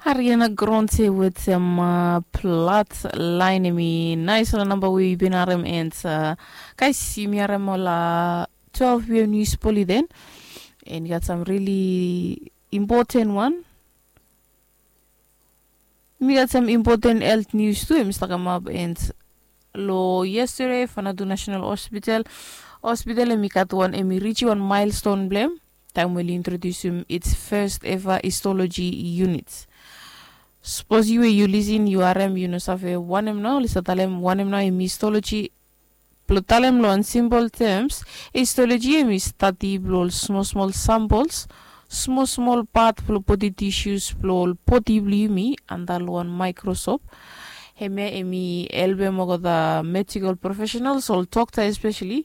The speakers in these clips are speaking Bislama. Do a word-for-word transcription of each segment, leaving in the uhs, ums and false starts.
Ariana Grande wetem uh, Plat Line, emi nais ol namba we yu bin harem, and uh, guys, yumi harem ol uh, twelve pm news poli then, and yu gat some really important one. Mi gat some important health news tu, emi stap kamap, and lo yesterday Fanatu National Hospital, hospital emi gat wan, emi reach wan milestone blem taem we oli introdusim its first ever histology unit. Sapos yu we yu lisin yu harem yu no save wanem nao oli stap talem, wanem nao emi histology. Blo talem lo wan simple terms, histology emi stadi blo ol smol smol samples, smol smol pat blo bodi tissues blo ol bodi blo yumi anda lo wan microscope. Hemia emi helpem olgeta medical professionals, ol dokta especially,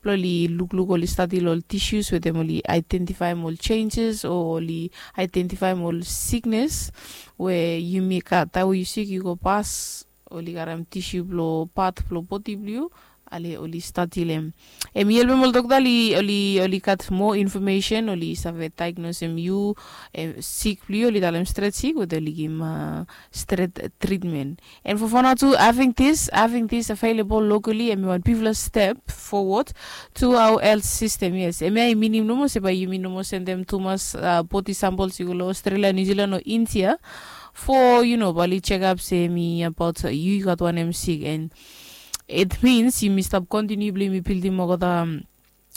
blo oli lukluk, oli stadi lo ol tissues wetem oli identifaem ol changes o oli identifaem ol sickness we yumi gat. Taem we yu sik yu go pas, oli karem tissue blo pat blo bodi blo yu, ale oli stadi lo hem. Emi helpem ol dokta oli, oli, oli gat moa information, oli save diagnosem yu, sik blo yu, oli talem stret sik we oli givim stret treatment. And for Fanatu, having this, having this available locally emi wan bigfala step forward to our health system. Yes, emi ai minim nomo se bae yumi nomo sendem tumas bodi samples i go lo Australia, New Zealand o India, for, you know, bae oli check up se emi about yu yu gat wanem sik. And it means yumi stap continue blo yumi buildim olgeta,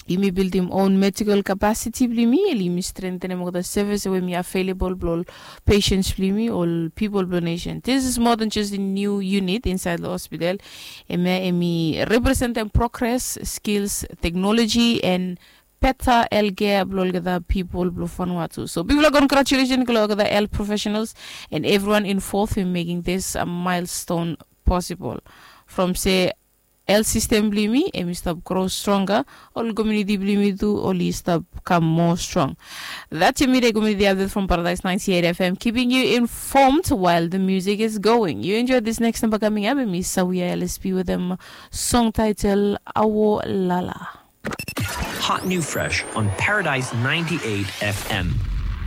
yumi buildim own medical capacity blo yumi, yumi strengthenem olgeta service we emi available blo ol patients blo yumi, ol people blo nation. This is more than just a new unit inside the hospital. Emi, emi representem progress, skills, technology and better healthcare blo olgeta people blo Vanuatu. So bigfala congratulations lo olgeta health professionals and everyone involved in making this a milestone possible. From se health system blo yumi emi stap grow stronger, ol community blo yumi tu oli stap kam moa strong. That's your midday community update from Paradise ninety-eight F M, keeping you informed while the music is going. You enjoy this next number coming up, emi Sawia L S P with a song title Awo Lala. Hot new fresh on Paradise ninety-eight F M.